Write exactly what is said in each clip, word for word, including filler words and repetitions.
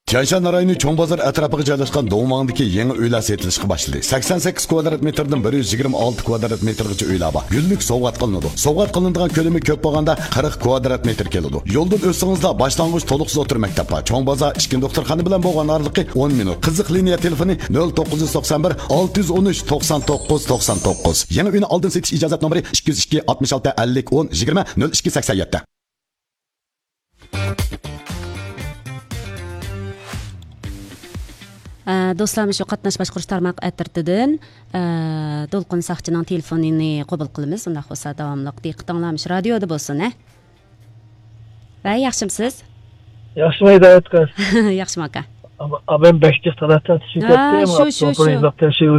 تيەنشان رايونى چوڭ بازار ئەتراپىغا جايلاشقان دۇڭۋاڭدىكى يېڭى ئۆيلەر سېتىلىشقا باشلىدى. سەكسەن سەككىز كۋادرات مېتىردىن بىر يۈز يىگىرمە ئالتە كۋادرات مېتىرغىچە ئۆيلەر بار. گۈللۈك سوۋغات قىلىنىدۇ. سوۋغات قىلىنىدىغان كۆلىمى كۆپ بولغاندا قىرىق كۋادرات مېتىر كېلىدۇ. يولدىن ئۆتسىڭىزلا باشلانغۇچ تولۇقسىز ئوتتۇرا مەكتەپ بار. چوڭ بازار ئىچكى دوختۇرخانا بىلەن بولغان ئارىلىقى ئون مىنۇت. قىزىق لىنىيە تېلېفونى نۆل توققۇز يۈز توقسان بىر، ئالتە يۈز ئون ئۈچ، توقسان توققۇز، توقسان توققۇز. يېڭى ئۆينى ئالدىن سېتىش ئىجازەتنامىسى ئىككى يۈز ئىككى، ئاتمىش ئالتە، ئەللىك، ئون، يىگىرمە، نۆل ئىككى، سەكسەن يەتتە. ئە، دوستلار، مۇشۇ قاتناش باشقۇرۇش تارماق ئەترىتىدىن، ئە، دولقۇن ساقچىنىڭ تېلېفونىنى قوبۇل قىلىمىز. ئۇنداق بولسا داۋاملىق دىققىتىڭلار مۇشۇ رادىيودا بولسۇن، ھە؟ ۋەي، ياخشىمسىز؟ ياخشىمۇ ھىدايەت قىز؟ ياخشىمۇ ئاكا؟ ئابام بەك جىق تەلەپ تارتىشىپ ھە، كەتتى. شۇ، شۇ، شۇ. تېخى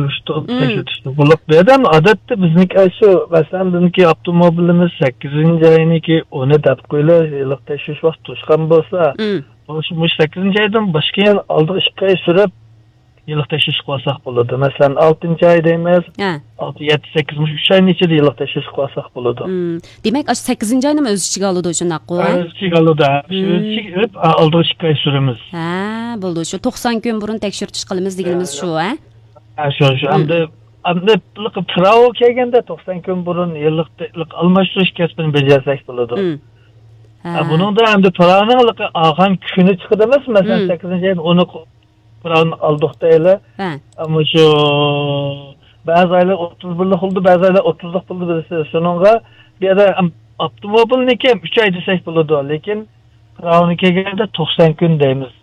تەكشۈرتۈشتە بولۇپ، بۇ يەردە ئادەتتە بىزنىڭكى شۇ، مەسىلەن، بىزنىڭكى ئاپتوموبىلىمىز سەككىزىنچى ئاينىڭكى ئونى دەپ قويىلى، يىللىق تەكشۈرۈش ۋاقتى توشقان بولسا، شۇ، مۇشۇ سەككىزىنچى ئايدىن باشقا يەنە ئالدىغا ئىككى ئاي سۈرۈپ، يىللىق تەكشۈرۈشكە بارساق بولىدۇ. مەسىلەن، ئالتىنچى ئاي دەيمىز، ھە. ئالتە، يەتتە، سەككىز، مۇشۇ ئۈچ ئاينىڭ ئىچىدە يىللىق تەكشۈرۈشكە بارساق بولىدۇ. دېمەك، ئاشۇ سەككىزىنچى ئاينىمۇ ئۆز ئىچىگە ئالىدۇ، شۇنداققۇ، ھە؟ ئۆز ئىچىگە ئالىدۇ، ھە. شۇ ئۆز ئىچىگە ئېلىپ، ئا، ئالدىغا ئىككى ئاي سۈرىمىز. ھە، بولىدۇ. شۇ توقسان كۈن بۇرۇن تەكشۈرتۈش قىلىمىز دېگىنىمىز شۇ، ھە؟ ھە، شۇ، شۇ. ئەمدى، ئەمدى پىراۋا كەلگەندە توقسان كۈن بۇرۇن يىللىق، يىللىق ئالماشتۇرۇش كەسپىنى بېجەرسەك بولىدۇ. ھە، بۇنىڭدا ئەمدى پىراۋانىڭ ئالغان كۈنى چىقىدۇ ئەمەس، مەسىلەن، سەككىزىنچى ئايدا ئۇنى پىراۋىنى ئالدۇق دەيلى. ھە. ئەمما شۇ بەزى ئايلار ئوتتۇز بىرلىق بولىدۇ، بەزى ئايلار ئوتتۇزلۇق بولىدۇ، بىلىسىز. شۇنىڭغا بۇ يەردە ئەم-، ئاپتوموبىلنىكى ئۈچ ئاي دېسەك بولىدۇ، لېكىن پىراۋىنى كەلگەندە توقسان كۈن دەيمىز.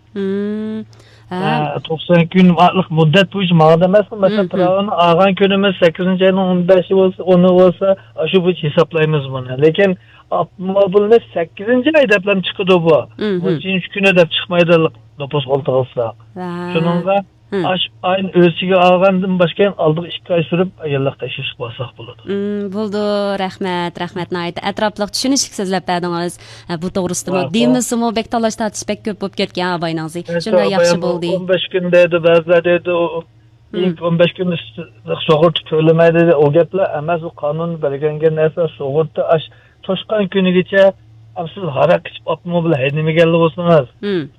ھە، توقسان كۈن مۇددەت بويىچە ماڭىدۇ ئەمەسمۇ؟ مەسىلەن، پىراۋىنى ئالغان كۈنىمىز سەككىزىنچى ئاينىڭ ئون بەشى بولسا، ئونى بولسا، ئاشۇ بويىچە ھېسابلايمىز بۇنى. لېكىن ئاپتوموبىلنى سەككىزىنچى ئاي دەپلا چىقىدۇ بۇ. نەچچىنچى كۈنى دەپ چىقمايدۇ نوپۇس قولتۇرغۇچىلار. شۇنىڭغا ئاش ئاينى ئۆز ئىچىگە ئالغاندىن باشقا ئالدىغا ئىككى ئاي سۈرۈپ يىللىق تەكشۈرۈشكە بارساق بولىدۇ. بولىدۇ، رەھمەت، رەھمەت، ناھايىتى ئەتراپلىق چۈشىنىشلىك سۆزلەپ بەردىڭىز. ھە، بۇ توغرىسىدىمۇ دېمىسىمۇ بەك تالاش تارتىش بەك كۆپ بولۇپ كەتكەن ئاباينىڭزى. شۇنداق ياخشى بولدى. ئون بەش كۈن دەيدۇ، بەزىلەر دەيدۇ، ئىلك ئون بەش كۈن سۇغۇرتا تۆلىمەيدۇ دەيدۇ. ئۇ گەپلەر ئەمەس، ئۇ قانۇن بەلگىلەنگەن نەرسە. سۇغۇرتا ئاش توشقان كۈنىگىچە، ئەم، سىز ھاراق ئىچىپ ئاپتوموبىل ھەيدىمىگەنلا بولسىڭىز،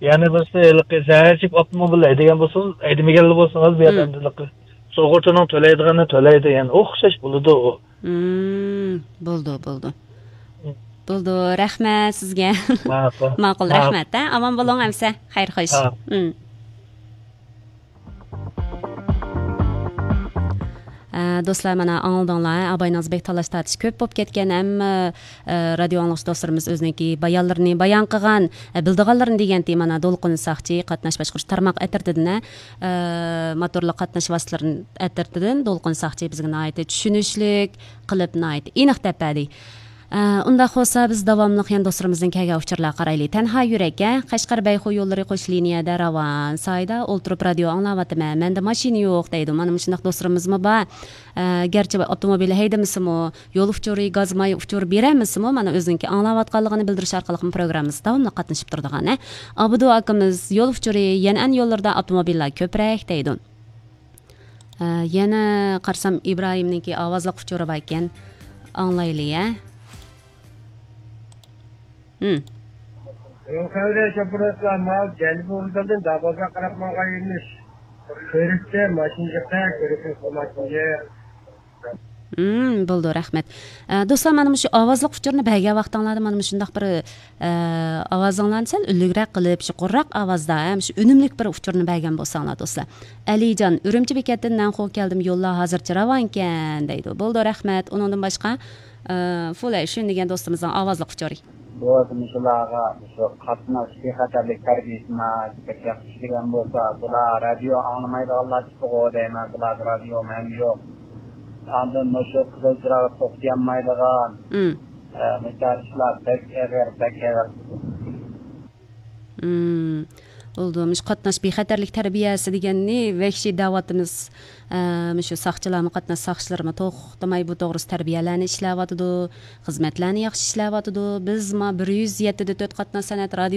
يەنى بىرسى ھېلىقى زەھەر چېكىپ ئاپتوموبىل ھەيدىگەن بولسىڭىز، ھەيدىمىگەنلا بولسىڭىز، بۇ يەردە ئەمدى سۇغۇرتىنىڭ تۆلەيدىغىنىنى تۆلەيدۇ، يەنى ئوخشاش بولىدۇ ئۇ. بولىدۇ، بولىدۇ. بولىدۇ، رەھمەت سىزگە. ماقۇل. ماقۇل، رەھمەت، ھە؟ ئامان بولۇڭ ئەمسە. خەير، خوش. ئە، دوستلار، مانا ئاڭلىدىڭلار، ئاباينىڭ بەك تالاش تارتىش كۆپ بولۇپ كەتكەن، ھەممە، ئە، رادىيو ئاڭلىغۇچى دوستلىرىمىز ئۆزىنىڭكى بايانلىرىنى بايان قىلغان، ئە، بىلىدىغانلىرىنى دېگەنتى، مانا دولقۇن ساقچى قاتناش باشقۇرۇش تارماق ئەترىتىدىن، ئە، موتورلۇق قاتناش ۋاسىتىلىرى ئەترىتىدىن دولقۇن ساقچى بىزگە ناھايىتى چۈشىنىشلىك قىلىپ، ناھايىتى ئېنىق دەپ بەردى. ئە، ئۇنداق بولسا، بىز داۋاملىق يەنە دوستلىرىمىزدىن كەلگەن ئۇچۇرلارغا قارايلى. تەنھا يۈرەك، ھە، قەشقەر بەيخۇ يوللىرى قوش لىنىيەدە راۋان. سايدا ئولتۇرۇپ رادىيو ئاڭلاۋاتىمەن. مەندە ماشىنا يوق دەيدۇ. مانا مۇشۇنداق دوستلىرىمىزمۇ بار. ئە، گەرچە ئاپتوموبىل ھەيدىمىسىمۇ، يول ئۇچۇرى، گاز ماي ئۇچۇرى بېرەلمىسىمۇ، مانا ئۆزىنىڭكى ئاڭلاۋاتقانلىقىنى بىلدۈرۈش ئارقىلىقمۇ پروگراممىمىزدا داۋاملىق قاتنىشىپ تۇرىدىغان، ھە. ئابدۇ ئاكىمىز، يول ئۇچۇرى، يەنئەن يوللىرىدا ئاپتوموبىللار كۆپرەك دەيدۇ. ئە، يەنە قارىسام، ئىبراھىمنىڭكى ئاۋازلىق ئۇچۇرى بار ئىكەن. ئاڭلايلى، ھە. ھىم. روخەۋرە شوپۇرلار ماۋۇ جەنۇبىي ۋوگزالدىن داۋازغا قاراپ ماڭغان يۆنىلىش. كۆرۈكتە ماشىنا جىقە، كۆرۈكنىڭ ماشىنا جىق. ھىم، بولىدۇ، رەھمەت. ئە، دوستلار، مانا مۇشۇ ئاۋازلىق ئۇچۇرنى بەرگەن ۋاقتىڭلاردا مانا مۇشۇنداق بىر، ئە، ئاۋازىڭلارنى سەل ئۈنلۈكرەك قىلىپ، شۇ قۇرراق ئاۋازدا، ھەم شۇ ئۈنۈملۈك بىر ئۇچۇرنى بەرگەن بولساڭلار، دوستلار. ئەلىجان، ئۈرۈمچى بېكەتتىن نەنخۇ كەلدىم، يوللار ھازىرچە راۋانكەن، دەيدۇ. بولىدۇ، رەھمەت. ئۇنىڭدىن باشقا، ئە، فۇلەيشۈن دېگەن دوستىمىزنىڭ ئاۋازلىق ئۇچۇرى. بولسا مۇشۇلارغا مۇشۇ قاتناش بىخەتەرلىك تەربىيەسىنى بەك ياخشى ئىشلىگەن بولسا، بۇلار رادىيو ئاڭلىمايدىغانلار چىقىدىغۇ دەيمەن، بۇلاردا رادىيو ھەم يوق. ئاندىن مۇشۇ قىزىل چىراغدا توختىيالمايدىغان، ئە، مۇشۇنداق ئىشلار بەك ئېغىر، بەك ئېغىر. بولىدۇ، مۇشۇ قاتناش بىخەتەرلىك تەربىيەسى دېگەننى ۋەھشىي دەۋاتىمىز. ئە، مۇشۇ ساقچىلارمۇ، قاتناش ساقچىلىرىمۇ توختىماي بۇ توغرىسىدا تەربىيەلەرنى ئىشلەۋاتىدۇ، خىزمەتلەرنى ياخشى ئىشلەۋاتىدۇ. بىز ما بىر يۈز يەتتە دە تۆت قاتناش سەنئەت رادىيو